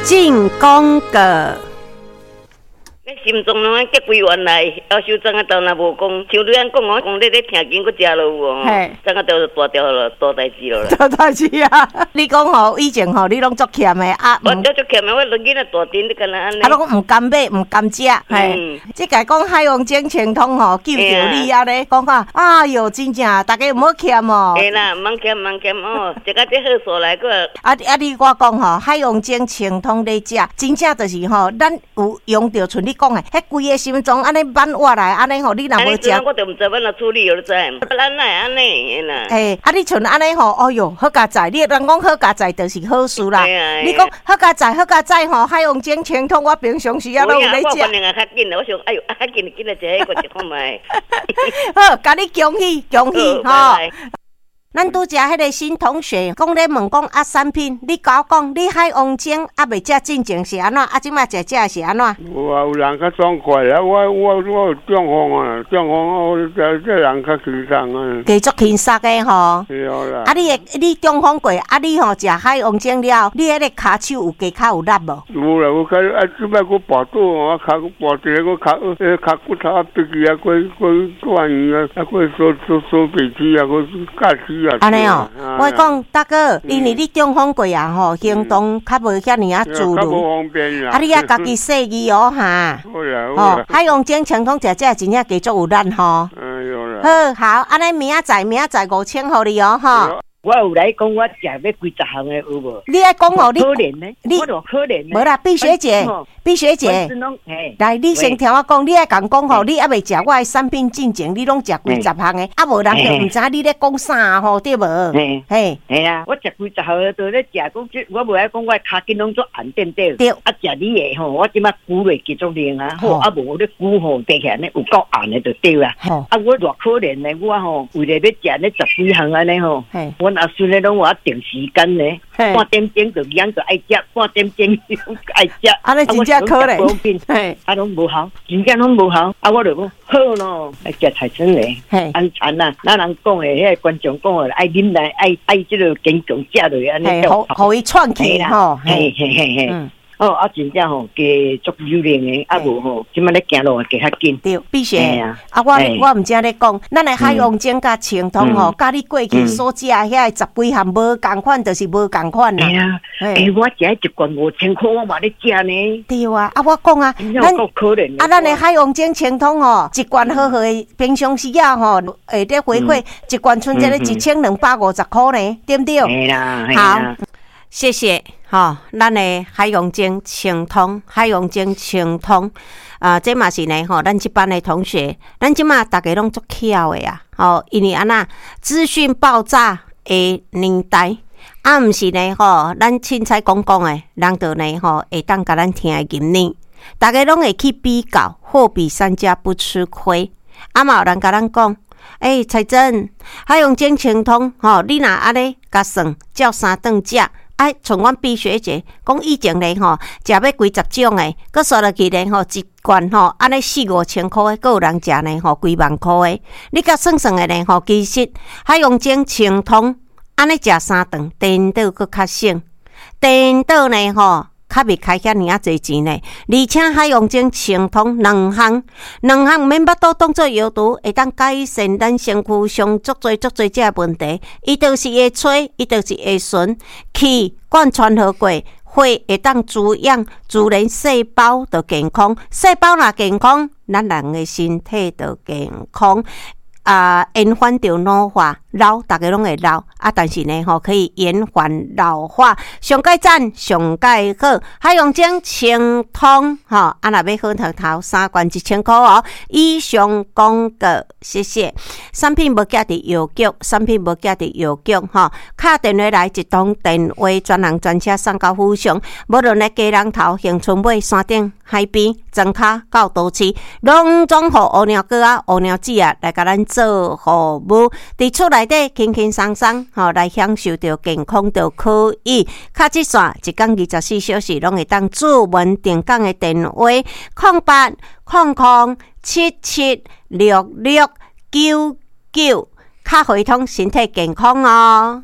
進廣告。你心臟攏愛結規原來，夭壽昨仔晝若無講，像你按講哦，講你咧聽緊閣食落有哦，昨仔晝就大條了，大代誌了啦。大代誌啊！你講吼，以前吼，你攏足儉的啊。我足儉的，我兩囡仔大陣，你敢若按呢？啊，攏毋甘買，毋甘食。嘿，這個講海王精清湯吼，救著你啊咧，講啊，哎喲，真正，大家毋好儉哦。會啦，毋通儉，毋通儉哦，食到這好數來閣。啊啊！你我講吼，海王精清湯咧食，真正就是吼，咱有用著，像你講的，彼規个心臟按呢挽活來，按呢吼，你若無食，我就毋知欲按怎處理，你知？咱哪會按呢啦？嘿，啊，你像按呢吼，哎喲，好佳哉！你人講好佳哉，就是好事啦。你講好佳哉，好佳哉吼，海王精清湯，我平常時仔攏有咧食。我反應也較緊，我想，哎喲，較緊緊來食彼個一看覓。好，共你恭喜恭喜吼！咱拄才彼个新同學講咧問講啊，產品，你共我講，你海王精猶未食進前是按怎？啊，這馬食食是按怎？有啊，有人較爽快啊！我有中風啊，中風我這這人較輕鬆啊。加足輕鬆的吼。對啦。啊，你會你中風過，啊，你吼食海王精了，你彼个跤手有加較有力無？有啦，有較啊，這擺閣跋倒啊，跤跋一个，跤彼个跤骨頭啊，蹩去啊，閣閣斷去啊，啊，閣鎖鎖鎖袂起啊，閣架起。按呢哦，我講大哥，因為你中風過啊吼，行動較無遐爾仔自如，啊，你愛家己細意哦哈。吼，海王精清湯食食真正加足有力吼。好，好，按呢明仔載明仔載5000予你哦吼。我有來講，我食欲幾十項的有無？你愛講哦，你可憐呢？你我可憐。無啦，畢學姐，畢學姐，來，你先聽我講，你愛共講吼，你猶未食我的產品進前，你攏食幾十項的，啊，無人就毋知你咧講啥吼，對無？嘿，嘿啊，我食幾十項的，都咧食，講這我無愛講，我的跤筋攏做紅點點。對。啊，食你的吼，我這馬久落繼續靈啊，好啊，無咧久吼，爬起來呢有夠紅的就對啊。啊，我偌可憐呢，我吼為了欲食呢十幾項按呢吼。阮阿孫咧攏予我定時間呢，半點鐘就兩個愛食，半點鐘愛食。啊，你真正可憐，啊，攏無效，真正攏無效。啊，我就講好咯，愛食菜心咧，安全啊。咱人講的，彼个觀眾講的，愛忍耐，愛愛這个堅強食落按呢。予伊喘氣吼，嘿嘿嘿嘿。哦，啊，真正吼，加足有力的，啊無吼，這馬咧行路會加較緊。對，必須。啊，我我毋知咧講，咱的海王精佮清湯吼，佮你過去所食遐个十幾項無仝款，就是無仝款啦。嘿啊，欸，我食一罐5000箍，我嘛咧食呢。對啊，啊，我講啊，咱啊，咱的海王精清湯吼，一罐好好的，平常時仔吼，會咧回饋一罐，賰這个1250箍呢，對毋對？嘿啦，好，謝謝。吼，咱的海洋精清湯，海洋精清湯，啊，這嘛是呢，吼，咱這班的同學，咱這馬逐家攏足巧的啊，吼，因為按怎資訊爆炸的年代，啊，毋是呢，吼，咱凊彩講講的，人就呢，吼，會當共咱聽會入呢，逐家攏會去比較，貨比三家不吃虧，啊嘛有人共咱講，欸，彩珍，海洋精清湯，吼，你若按呢共算，照三頓食。啊，像阮畢學姐講以前咧吼，食欲幾十種的，閣煞落去咧吼，一罐吼，按呢四五千箍的，閣有人食呢吼，幾萬箍的。你共算算的咧吼，其實海洋精清湯按呢食三頓，顛倒閣較省，顛倒呢吼，較袂開遐爾仔濟錢呢。而且海洋精清湯兩項，兩項毋免腹肚當做藥毒，會當改善咱身軀上足濟足濟這个問題。伊就是會催，伊就是會順氣貫穿好過，血會當滋養，自然細胞就健康，細胞若健康，咱人的身體就健康。啊，延緩著老化，老逐家攏會老啊，但是呢吼，可以延緩老化。上蓋讚，上蓋好，海洋精清湯吼，啊，若欲好頭頭三罐1000箍哦。以上廣告，謝謝。產品無寄佇藥局，產品無寄佇藥局吼，敲電話來一通電話，專人專車送到府上。無論咧基隆頭、恆春尾、山頂、海邊、莊跤到都市，攏總予烏貓哥仔、烏貓姊仔來共咱做服務。佇厝內底輕輕鬆鬆吼來享受著健康就可以。敲這線一工24小時攏會當主文定崗的電話：0800776699，較會通身體健康哦。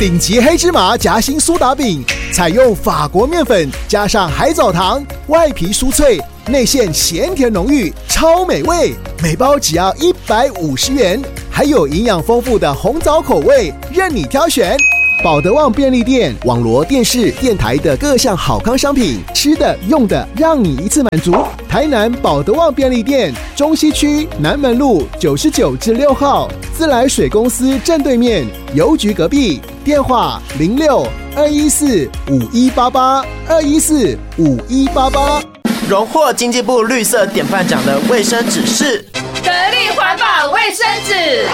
頂級黑芝麻夾心蘇打餅。采用法國麵粉加上海藻糖，外皮酥脆，內餡鹹甜濃郁，超美味。每包只要150元，還有營養豐富的紅棗口味，任你挑選。寶德旺便利店網羅電視電台的各項好康商品，吃的用的，讓你一次滿足。台南寶德旺便利店，中西區南門路99之6號，自來水公司正對面，郵局隔壁。電話06-214-5188，214-5188。榮獲經濟部綠色典範獎的衛生紙是得力環保衛生紙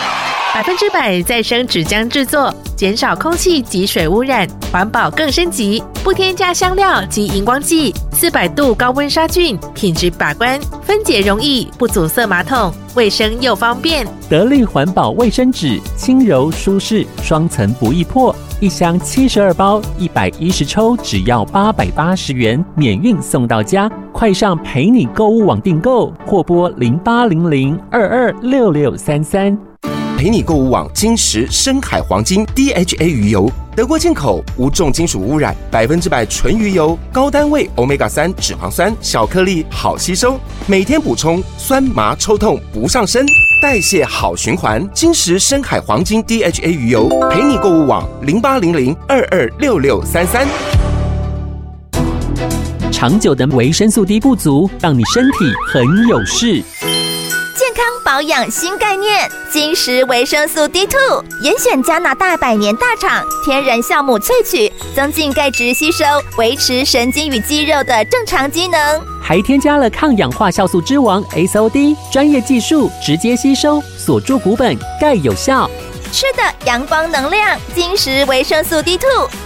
，100%再生紙漿製作，減少空氣及水污染，環保更升級。不添加香料及熒光劑，400度高溫殺菌，品質把關，分解容易，不阻塞馬桶，衛生又方便。得力環保衛生紙，輕柔舒適，雙層不易破，一箱72包，110抽，只要880元，免運送到家。快上陪你購物網訂購，或撥0800-226633。陪你購物網金石深海黃金 DHA 魚油，德國進口，無重金屬污染，100%純魚油，高單位 Omega 3脂肪酸，小顆粒好吸收，每天補充酸麻抽痛不上身，代謝好循環。金石深海黃金 DHA 魚油，陪你購物網0800-226633。長久的維生素 D 不足，讓你身體很有事。健康保養新概念，金石維生素 D2，嚴選加拿大百年大廠天然酵母萃取，增進鈣質吸收，維持神經與肌肉的正常機能。還添加了抗氧化酵素之王 SOD，專業技術直接吸收，鎖住骨本，鈣有效。吃的陽光能量，金石維生素 D2，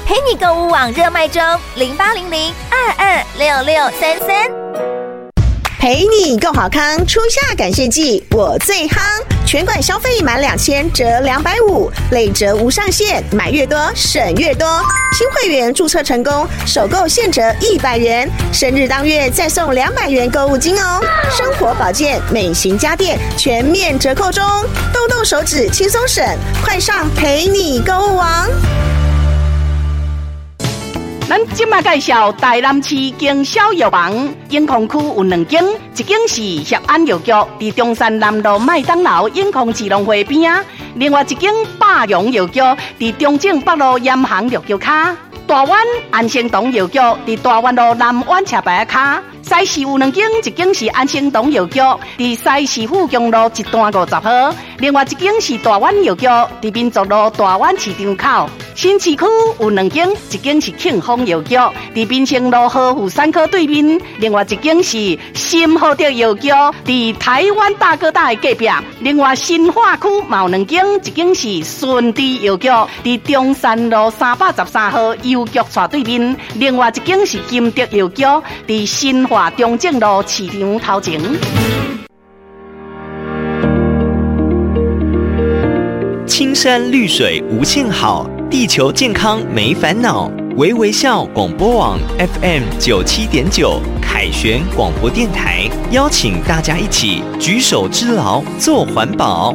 陪你購物網熱賣中，0800-226633。陪你共好康，初夏感謝季，我最夯！全館消費滿2000折250，累折無上限，買越多省越多。新會員註冊成功，首購現折100元，生日當月再送200元購物金哦。生活保健、美型家電全面折扣中，動動手指輕鬆省，快上陪你購物網！咱這馬介紹台南市經銷藥房，永康區有兩間，一間是協安藥局，佇中山南路麥當勞永康市農會邊仔；另外一間百榮藥局，佇中正北路鹽行藥局跤。大灣安生堂藥局，佇大灣路南灣車牌仔跤。西市有兩間，一間是安生堂藥局，佇西市富強路一段50號；另外一間是大灣藥局，佇民族路大灣市場口。新市區有兩間，一間是慶豐藥局，佇民生路和婦產科對面；另外一間是新和德藥局，佇台灣大哥大的隔壁。另外新化區嘛有兩間，一間是順治藥局，佇中山路313號郵局斜對面；另外一間是金德藥局，佇新化中正路市場頭前。青山綠水無限好，地球健康沒煩惱。微微笑廣播網 FM 97.9凱旋廣播電台，邀請大家一起舉手之勞做環保。